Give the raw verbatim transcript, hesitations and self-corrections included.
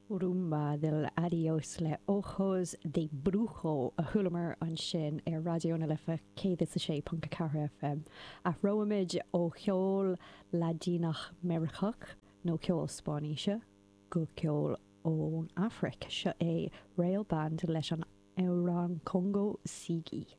Rumba del Adiós le Ojos de Brujo a chualamar ansin ar Raidió na Life céad is a sé ponc a ceathair F M. Athróimid ó cheol Laidineach Meiriceach nó ceol Spáinnise go ceol ón Afraic. Seo é Rail Band leis an amhrán Congo Sigi.